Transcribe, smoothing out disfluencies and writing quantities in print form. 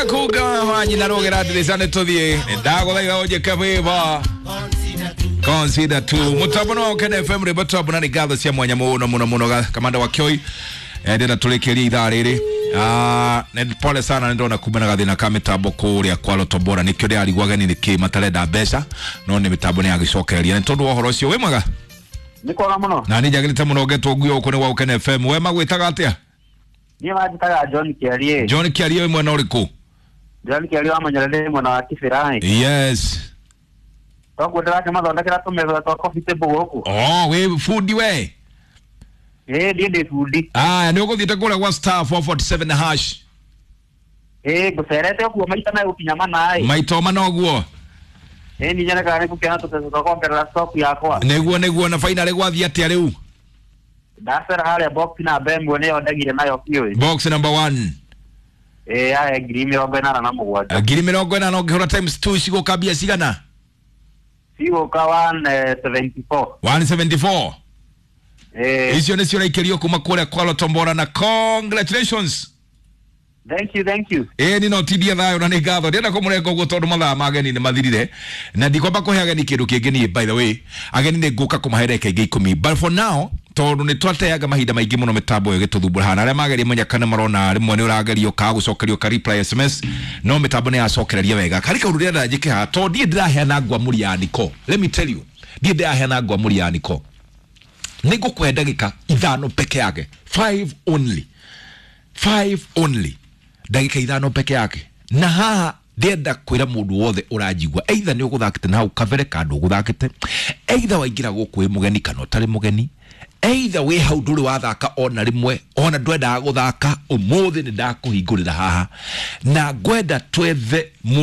Kuga nyina rugera ndirica nĩ tũthiĩ ndagũthaitha ũnjĩke favor consider tu mutambo no Kenya FM rĩmbo twambo na nĩ ngatho cia mwanya mũno mũno mũno kamanda wa Kioi ndĩrenda tũrĩkĩrie ithaa rĩrĩ. Nĩ pole sana nĩ ndona kumana gathĩna ka mĩtambo kũrĩa kwa Lotombora nĩkĩo ndĩrarigwo ageni nĩkĩ matarenda mbeca no nĩ mĩtambo nĩ yagĩcokereria nĩ tondũ wa ũhoro ũcio. Wĩ mwega? Nĩ kwega mũno. Na nĩ njagĩrĩte mũno ngetwo nguo gũkũ nĩ gwa Ũkene FM. We magwĩtaga atĩa? Niĩ manjĩtaga John Kĩarie. John Kĩarie wĩ mwena ũrĩkũ? John Kĩarie wa Manyara ndĩ mwena wa Kĩbĩra. Yes. Toguo ndĩrakĩmathondekera tũmetha twa coffee table gũkũ. Oh, wĩ bundi we? Ĩĩ, niĩ ndĩ bundi. Aya, nĩ ũgũthiĩte kũrĩa gwa *447 hash? Ĩĩ, ngũcerete ũguo maita megũkinya mana ĩ. Maita mana ũguo. Ĩĩ, niĩ nyonaga nĩ ngũkĩona tũbeca twa kuongerera stock yakwa. Nĩguo nĩguo. Na finally gwathiĩ atĩa rĩu? Ndacera harĩa box namba 1 nĩyo ndagire nayo biũ. Box number 1. Ĩĩ, yahe 87,000. 80,000 ũngĩhũra times 2 cigũka mbia cigana? Cigũka 174. 174. Ĩĩ. Icio nĩcio ũraikĩrio kuma kũrĩa kwa Lotombora na congratulations. Thank you, thank you. Ĩĩ, ni no tindie thayũ na nĩ ngatho. Ndĩrenda kũmũrenga ũguo tondũ mathaa ma ageni nĩ mathirire na ndikwamba kũhe ageni kĩndũ kĩngĩ niĩ. By the way, ageni nĩ ngũka kũmahe ndagĩka ingĩ 10, but for now tondũ nĩ twateaga mahinda maingĩ mũno mĩtambo ĩyo ĩgĩtũthumbũra hana arĩa mageria menya kana marona rĩmwe nĩ ũragerio kaga gũcokerio ka reply SMS no mĩtambo nĩ yacokereria wega. Karĩ kaũndũ ndĩrenda njĩke haha tondũ ndiĩ ndĩraheana ngwamũri ya Niko. Let me tell you, ndiĩ ndĩraheana ngwamũri ya Niko. Nĩ ngũkũhe ndagĩka 5 peke yake, 5 only, 5 only, ndagĩka 5 peke yake. Na haha ndĩrenda kwĩra mũndũ wothe ũranjigua, either nĩ ũgũthakĩte na hau kabere kana ndũgũthakĩte, either waingĩra gũkũ wĩ mũgeni kana ũtarĩ mũgeni, either wĩ hau ndũrĩ wathaka ona rĩmwe ona ndwendaga gũthaka, ũmũthĩ nĩ ndakũhingũrĩra haha na ngwenda twethe.